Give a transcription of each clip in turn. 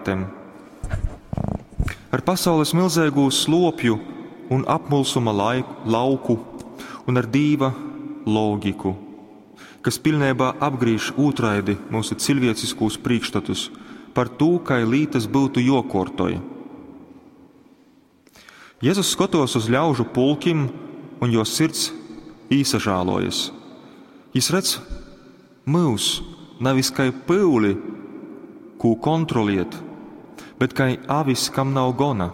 realitātem, ar pasaules milzeigū slopju un apmulsuma laiku, lauku un ar Dīva logiku, kas pilnībā apgrīž ūtraidi mūsu cilvēciskūs priekšstatus par tū, kai lītas būtu jokortoj. Jēzus skatos uz ļaužu pulkim un jo sirds īsažālojas. Jis redz mūs nevis kai pyuli, kū kontroliet, bet kai avis, kam nav gona.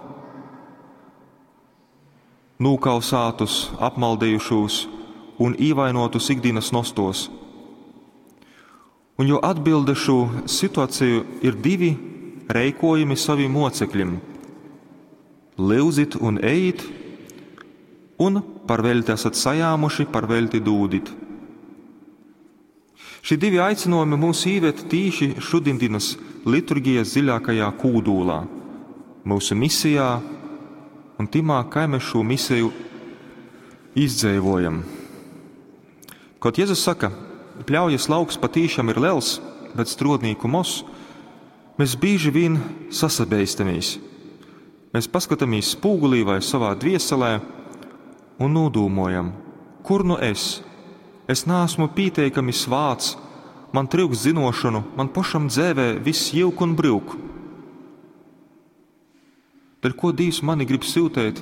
Nūkausātus, apmaldījušos un īvainotus ikdienas nostos. Un jo atbilde šo situāciju ir divi reikojumi saviem mocekļiem: Lyuzit un ejit, un par veļti esat sajāmuši, par veļti dūdit. Šie divi aicinājumi mūs īved tīši šodienas liturgijas dziļākajā kūdūlā, mūsu misijā un timā, kā mēs šo misiju izdzīvojam. Kaut Jēzus saka, pļaujas lauks patīšām ir liels, bet strodnīku mos, mēs bieži vien sasabeistamies. Mēs paskatāmies spūgulī vai savā dvieselē un nodūmojam, kur nu es? Es neesmu pieteikami svāts, man trūks zinošanu, man pašam dzēvē viss jilk un brūk. Dēļ ko Dievs mani grib siltēt,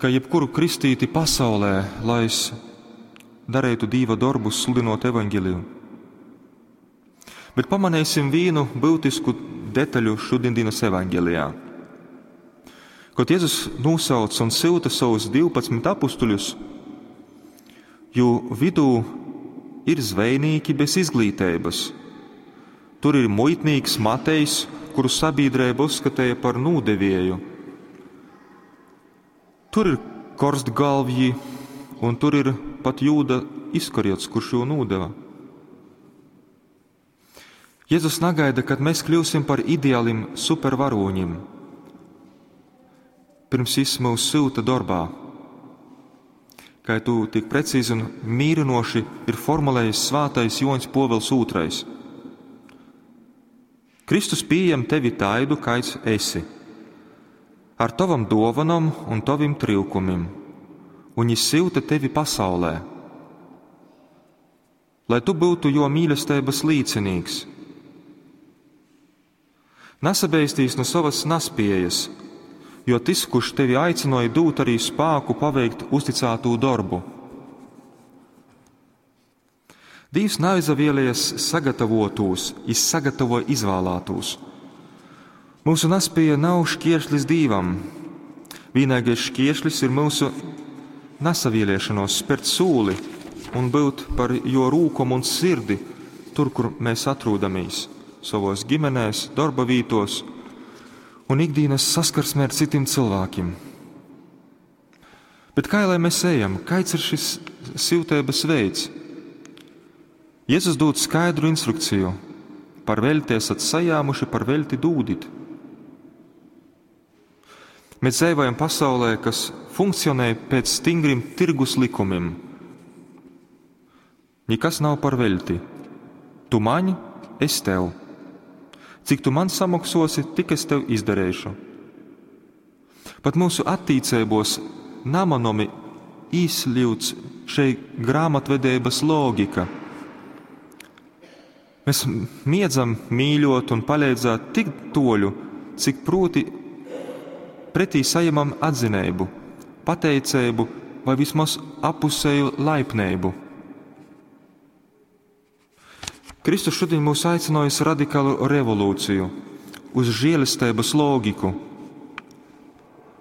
ka jebkuru kristīti pasaulē, lai es darītu Dieva darbus, sludinot evaņģeliju. Bet pamanīsim vienu būtisku detaļu šodienas evaņģelijā. Kad Jēzus nosauc un silta savus 12 apustuļus, jo vidū ir zvejnieki bez izglītības. Tur ir muitnīgs Matejs, kuru sabiedrība uzskatīja par nūdevieju. Tur ir korstgalvji, un tur ir pat Jūda Iskariots, kurš jo nūdeva. Jēzus nagaida, kad mēs kļūsim par ideālim supervaroņiem. Pirms viņš mūs sūta darbā. Kā tu tik precīzi un mīrinoši ir formulējis svātais Joņs Povels II. Kristus pieņem tevi taidu, kāds esi, ar tavam dovanam un tavim trūkumim, un viņš silta tevi pasaulē, lai tu būtu jo mīlestības līdzinīgs. Nesabeistīs no savas naspējas, jo tas, kurš tevi aicināja dūt arī spēku paveikt uzticēto darbu. Dievs nav izvēlējies sagatavotos, viņš sagatavo izvēlētos. Mūsu naspēja nav šķēršlis Dievam. Vienīgais šķēršlis ir mūsu nesavieliešanos spērt sūli un būt par jo rūkumu un sirdi tur, kur mēs atrodamies, savos ģimenēs, darba vītos un ikdienas saskarsmē ar citiem cilvēkiem. Bet kā lai mēs ejam? Kāds ir šis siltības veids? Jēzus dod skaidru instrukciju: par veļti esat sajāmuši, par veļti dūdit. Mēs dzīvojam pasaulē, kas funkcionē pēc stingriem tirgus likumiem. Nekas nav par veļti. Tu man, es tev. Cik tu man samoksosi, tik es tev izdarīšu. Pat mūsu attīcībos namanomi īsļūts šei grāmatvedības logika. Mēs miedzam mīļot un palīdzēt tik toļu, cik proti pretī saņemam atzinību, pateicību vai vismaz apusēju laipnību. Kristus šodien mūs aicināja uz radikālu revolūciju, uz žēlestības loģiku.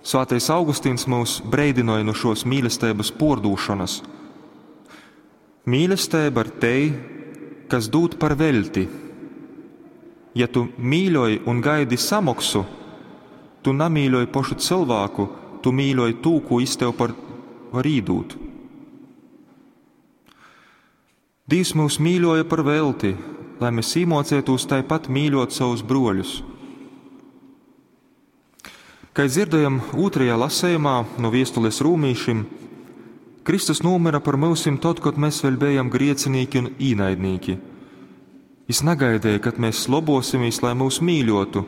Svētais Augustīns mūs breidināja no šos mīlestības pordūšanas. Mīlestība ir tei, kas dod par velti. Ja tu mīļoji un gaidi samoksu, tu namīļoji pašu cilvēku, tu mīļoji tū, ko iz tev par var īdūt. Dievs mūs mīļoja par velti, lai mēs īmocētos tāpat mīļot savus broļus. Kā dzirdējam otrajā lasējumā no viestules rūmīšim, Kristus nomira par mūsim tad, kad mēs vēl bijām griecinīgi un īnaidnīgi. Viņš negaidīja, kad mēs lobosimies, lai mūs mīļotu.